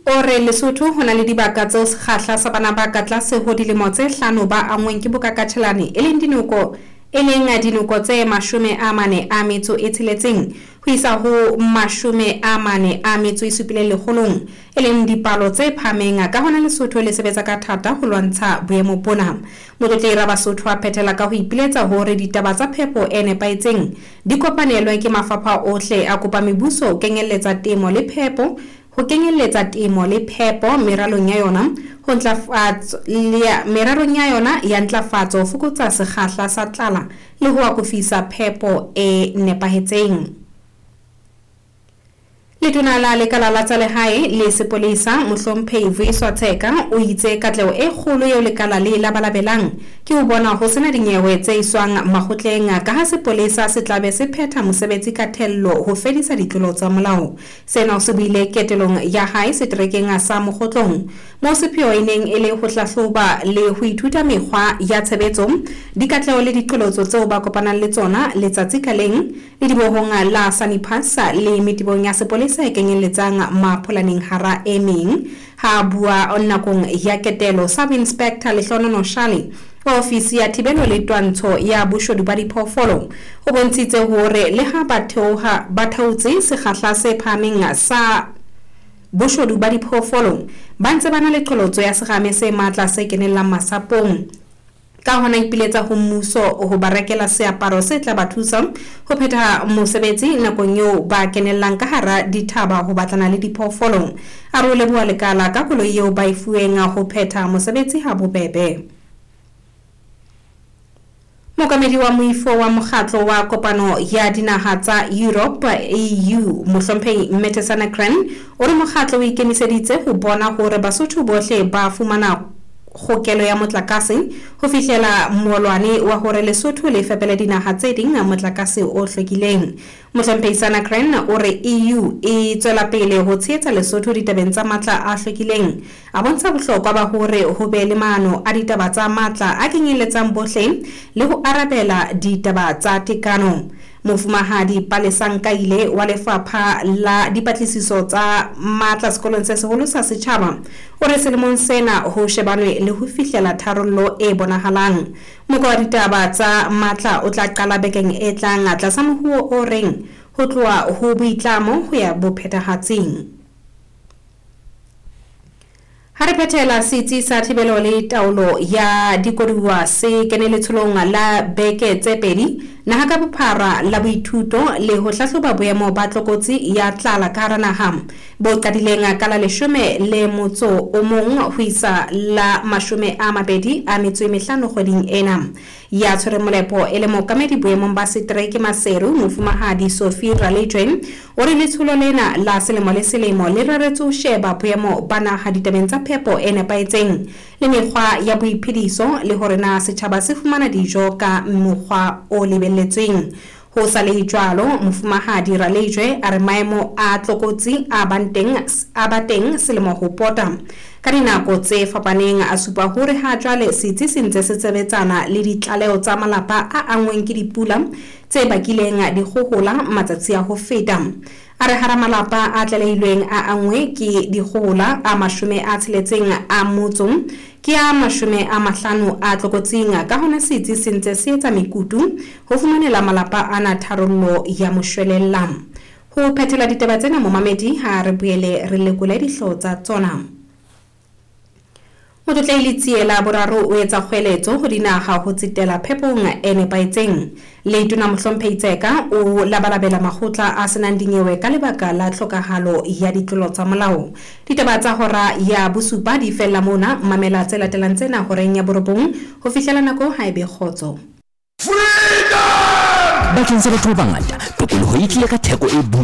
O re Lesotho ho na le dibaka tseo sekgahla sa bana ba ka tlase ho dilemo tse hlano ba anngweng ke bokakatjhelane e leng dinoko e leng dinoko tse 46 ho isa ho 47 lekgolong, e leng dipalo tse phahameng. Ka hona Lesotho le sebetsa ka thata ho lwantsha boemo bona. Motlotlehi Rabasotho a phethela ka ho ipiletsa hore ditaba tsa phepo e nepahetseng di kopanelwe ke mafapha ohle, a kopa mebuso ho kenyelletsa temo le phepo ho kenyelletsa temo le phepo meralong ya yona ho ntlafatso meralong ya yona ya ntlafatso ho fokotsa sekgahla sa tlala le ho akofisa phepo e nepahetseng. Letona la Lekala la tsa Lehae le Sepolesa, Mohlomphehi Vuyiswa Tsheka, o itse katleho e kgolo eo lekala le e labalabelang ke ho bona ho sena dinyewe tse iswang makgotleng kaha sepolesa se tlabe se phetha mosebetsi ka thello ho fedisa ditlolo tsa molao. Sena o se buile ketelong ya hae seterekeng sa Mokgotlong, moo sepheo e neng e le ho hlahloba le ho ithuta mekgwa ya tshebetso, dikatleho le diqholotso tseo ba kopanang le tsona letsatsi ka leng ledibohong la Saniphas le metebong ya sepolesa e kenyelletsang Mapholaneng hara e meng. Ha a bua nakong ya ketelo, Sub-Inspector Lehlonono Shale wa ofisi ya thibelo le twantsho ya boshodu ba diphoofolo o bontshitse hore le ha ba theoha ba theotse sekgahla se phahameng sa boshodu ba diphoofolo, ba ntse ba na le qholotso ya serame se matla se kenellang masapong. Ka hona ipiletsa ho mmuso ho ba rekela seaparo se tla ba thusa ho phetha mosebetsi nakong eo ba kenellang ka hara dithaba ho batlana le diphoofolo. A re o leboha lekala ka koloi eo ba e fuweng ho phetha mosebetsi ha bobebe. Mookamedi wa moifo wa mokgatlo wa kopano ya dinaha tsa Europe, EU, Mohlomphehi Mette Sanakran, o re mokgatlo o ikemiseditse ho bona hore Basotho bohle ba fumana kgokelo ya motlakase ho fihlela moolwane wa hore Lesotho le fepele dinaha tse ding motlakase o hlwekileng. Mohlomphehi Sanakran o re EU e tswela pele ho tshehetsa Lesotho ditabeng tsa matla a hlwekileng. A bontsha bohlokwa ba hore ho be le maano a ditaba tsa matla a kenyelletsang bohle le ho arabela ditaba tsa tekano. Mofumahadi Palesa Nkaile wa Lefapha la Dipatlisiso tsa Matla Sekolong se Seholo sa Setjhaba o re selemong sena ho shebanwe le ho fihlela tharollo e bonahalang. Moko wa ditaba tsa matla o tla qala bekeng e tlang tlasa mohuo o reng ho tloha ho boitlamo ho ya bophethahatsing. Ha re phethela, Setsi sa Thibelo le Taolo ya Dikoduwa se kene letsholong la beke tse pedi naha ka bophara la boithuto le ho hlahloba boemo ba tlokotsi ya tlala ka hara naha, bo qadileng ka la 11 ho isa la 25 kgweding ena. Ya tshwereng molepo e le mookamedi boemong ba setereke Maseru, Mofumahadi Sophie Ralejwe, o re letsholo lena la selemo le selemo le reretswe ho sheba boemo ba naha ditabeng tsa phepo e nepahetseng le mekgwa ya boiphediso le hore na setjhaba se fumana dijo ka mokgwa o lebelletsweng. Ho sa le jwalo, Mofumahadi Ralejwe a re maemo a tlokotsi a bang teng a ba teng selemo ho pota ka dinako tse fapaneng, a supa hore ha jwale setsi se ntse se sebetsana le ditlaleho tsa malapa a anngweng ke dipula tse bakileng dikgohola matsatsi a ho feta. A re hara malapa a tlalehilweng a anngwe ke dikgohola a 68 ke a 50 a tlokotsing, ka hona setsi se ntse se etsa mekutu ho fumanela malapa ana tharollo ya moshwelella. Ho phethela ditaba tsena, momamedi, ha re boele re lekole dihlooho tsa tsona. Motlotlehi Letsie la Boraro o etsa kgweletso ho dinaha ho tsetela phepong e nepahetseng. Letona Mohlomphehi Tseka o labalabela makgotla a senang dinyewe ka lebaka la tlhokahalo ya ditlolo tsa molao. Ditaba tsa hora ya bosupa di fella mona. Mamela tse latelang tsena horeng ya borobong ho fihlela nako ha e be kgotso. Bakeng sa batho ba bangata, tokoloho e tlile ka theko e boima.